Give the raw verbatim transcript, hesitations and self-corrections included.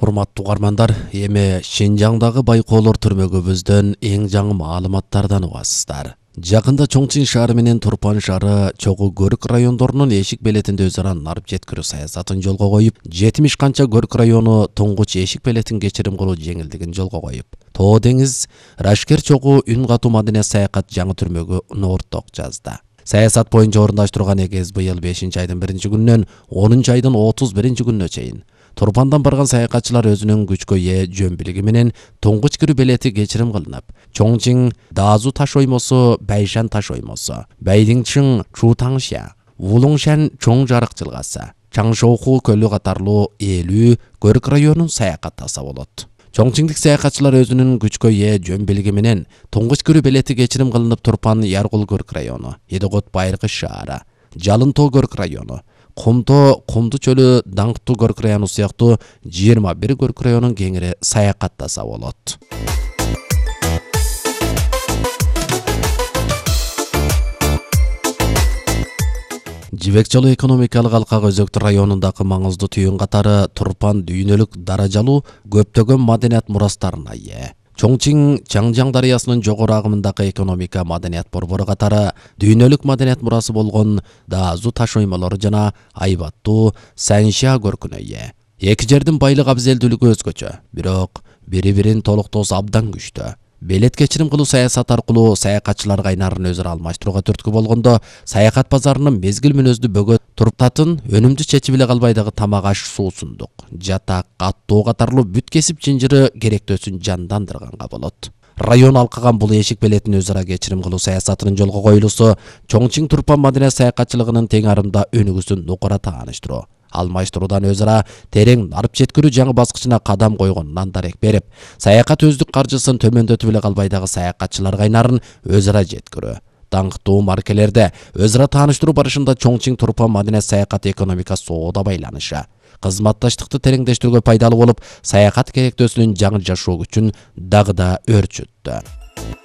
Урматтуу угармандар, эми Шинжаңдагы байкоолор түрмөгүбүздөн эң жаңы маалыматтардан угасыздар. Жакында Чоңчин шаары менен Турпан шаары чогуу көрк райондорунун эшик белетинде өз ара нарып жеткирүү саясатын жолго коюп, жетимиш канча көрк району туңгуч эшик белетин кечирим кылуу жеңилдигин жолго коюп, Тоо деңиз, Рашкер чогуу үн катуу маданият саякат жаңы түрмөгү орток жазды. Саясат боюнча орундаштырылган эгез быйыл бешинчи айдын биринчи күнүнөн онунчу айдын отуз биринчи күнүнө чейин Турпандан барган саякатчылар өзүнүн күчкө ээ жөн билиги менен туңгуч кирүү белети кечирим кылынып, Чоңчиң Даазу таш оймосу, Байшан таш оймосу, Байдиңчиң Чутаңша, Улуңшан чоң жарык жылгасы, Чаңшооху көлү катарлуу элүү көрк районун саякаттаса болот. Чоңчиңдик саякатчылар өзүнүн күчкө ээ жөн билиги менен туңгуч кирүү белети кечирим кылынып Турпан Яргул көрк району, Едигот Байыркы шаары, Жалынтоо көрк району, Кумто Кумду чөлү Даңктуу көрк району сыяктуу жыйырма бир көрк районун кеңири саякаттаса болот. Жибек жолу экономикалык алкак өзөктү районундагы маңыздуу түйүн катары Турпан дүйнөлүк даражалуу көптөгөн маданият мурастарына ээ. Чоңчиң Чаңжаң дарыясынын жогору агымындагы экономика маданият борбору катары дүйнөлүк маданият мурасы болгон Даазу таш оймолору жана айбаттуу Санша көркүнө ээ. Эки жердин байлык абзелдүүлүгү өзгөчө, бирок бири-бирин толуктоосу абдан күчтүү. Белет кечирим кылуу саясаты аркылуу саякатчылар кайнарын өзү ара алмаштырууга түрткү болгондо, саякат базарынын мезгил мүнөздүү бөгөт туруптатын өнүмдүү чечип эле калбай дагы тамак аш, суусундук, жатак, каттоо катарлуу бүт кесип жинжири керектөөсүн жандандырганга болот. Район алкаган бул эшик белетин өз ара кечирим кылуу саясатынын жолго коюлуусу Чоңчиң Турпан маданият саякатчылыгынын тең арымда өнүгүүсүн нукура тааныштыруу, алмаштыруудан өз ара терең нарып жеткирүү жаңы баскычына кадам койгонунан дарек берип, саякат өздүк каржысын төмөндөтүп эле калбай дагы саякатчылар кайнарын өз ара жеткирүү, даңктуу маркелерде өз ара тааныштыруу барышында Чоңчиң Турпан маданият саякат экономика соода байланышы, кызматташтыкты тереңдештирүүгө пайдалуу болуп, саякат керектөөсүнүн жаңы жашоо күчүн дагы да өрчүттү.